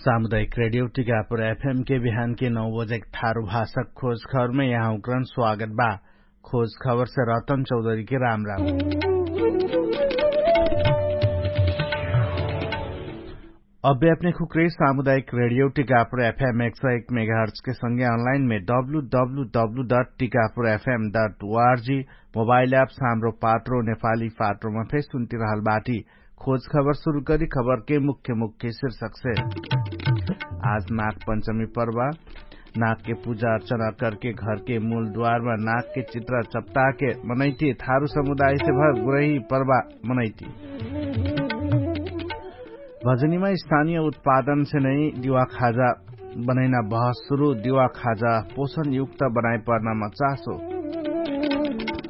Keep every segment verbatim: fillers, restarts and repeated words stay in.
सामुदायिक रेडियो टिकापुर एफएम के बिहान के नौ बजे थारु भाषा खोज खबरमे यहाँ उक्रन स्वागत बा। खोज खबरसे रतन चौधरी के राम राम। अभ्यापने खुक्रे सामुदायिक रेडियो टिकापुर एफएम एक सौ एक मेगाहर्च के संगे अनलाइन मे W W W dot Tikapur FM dot ORG mobile apps Hamro Patro नेपाली पात्रोमा फेर सुन्ति रहल बाटी। खोज खबर सुरु करी खबर के मुख्य मुख्य शीर्षक से। आज नाग पंचमी पर्व। नाग के पूजा अर्चना करके घर के मूल द्वारमा नाग के चित्र चपटा के मनैती थारु समुदाय से भर गुरही पर्व मनैती। भजनीमा स्थानीय उत्पादन से नै दिवा खाजा बनैना बहस सुरु। दिवा खाजा पोषण युक्त बनाइ पर्नामा चासो।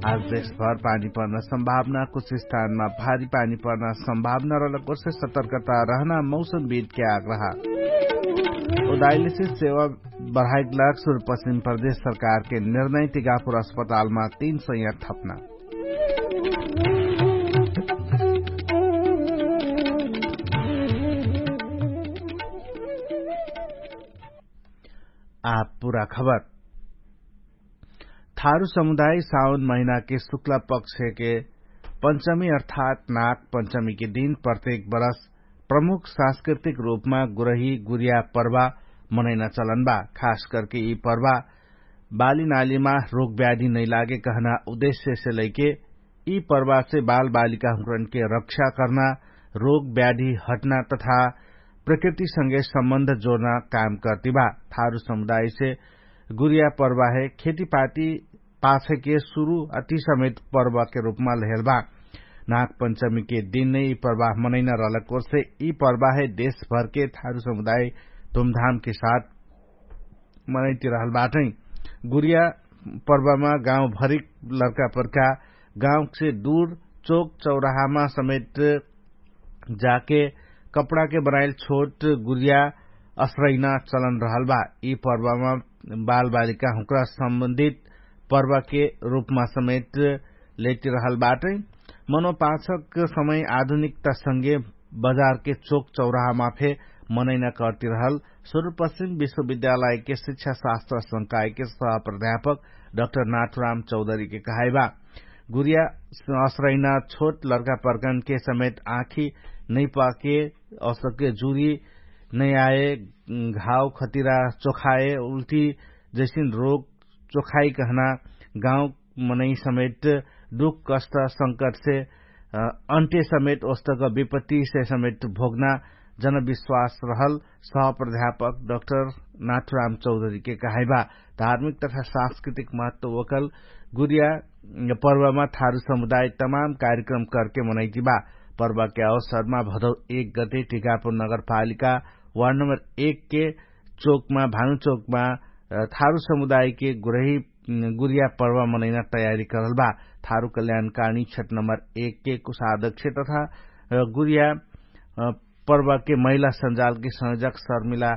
आज देशभर पानी पर्ना सम्भावना कुछ स्थानमा भारी पानी पर्ना सम्भावना रहलक ओर्से सतर्कता रहना मौसमविद के आग्रह। उदाइलेसे सेवा बढाइक लाग सुरु पश्चिम प्रदेश सरकार के निर्णय टिकापुर अस्पतालमा तीन सय थपना। आप पुरा खबर। थारु समुदाय साउन महिना के शुक्ला पक्ष के पंचमी अर्थात नाग पंचमी के दिन प्रत्येक बरस प्रमुख सांस्कृतिक रूपमा गुरही गुरिया पर्वा मनैना चलन बा। खास करके यी पर्वा बाली नालीमा रोग ब्याधी नैलागे कहना उद्देश्य से लैके यी पर्वा से बाल बालिका हुँकरन के रक्षा कर्ना, रोग ब्याधी हट्ना तथा प्रकृति संगे सम्बन्ध जोर्ना काम कर्ति बा। थारु समुदाय से गुरिया पर्वा हे खेतीपाती पाछे के सुरु अति समेत पर्वा के रूपमा लहेल बा। नाग पंचमी के दिन नै यी पर्वा मनैना रहलक ओर्से यी पर्वा हे देशभर के थारु समुदाय धुमधाम के साथ मनैति रहल बाटै। गुरिया पर्वामा गाउँ भरिक लर्का पर्का गाउँ से दुर चोक चौराहामा समेट जाके कपडा के बनाइल छोट गुरिया असरैना चलन रहल बा। यि पर्वामा बालबालिका हुँक्रा सम्बन्धित पर्वा के रूपमा समेट लेति रहल बाटै। मनोपाछक समय आधुनिकता संगे बजारके चोक चौराहामा फे मनैना कर्ति रहल सुरुपश्चिम विश्वविद्यालयके शिक्षा शास्त्र संकायके सह प्राध्यापक डक्टर नाथुराम चौधरीके कहाइबा। गुरिया असरैना छोट लर्का पर्कनके समेट आँखी नैपाके असके जुरी नैआए घाव खतिरा चोखाए उल्टी जैसिन रोग चोखाइ कहना गाउँ मनै समेट दुख कष्ट संकटसे अन्त्य समेट ओस्तक विपत्तिसे समेट भोग्ना जनविश्वास रहल सहप्राध्यापक डक्टर नाथुराम चौधरीके कहाइबा। धार्मिक तथा सांस्कृतिक महत्व ओकल गुरिया पर्वमा थारु समुदाय तमाम कार्यक्रम करके मनैतिबा। पर्वके अवसरमा भदौ एक गते टिकापुर नगरपालिका वार्ड नम्बर एक के चोकमा भानु चोकमा थारु समुदायके गुरही गुरिया पर्व मनैना तयारी करल बा। थारु कल्याणकाणी क्षेत्र नम्बर एक के कुशाध्यक्ष तथा गुरिया पर्वके महिला संजालके संयोजक शर्मिला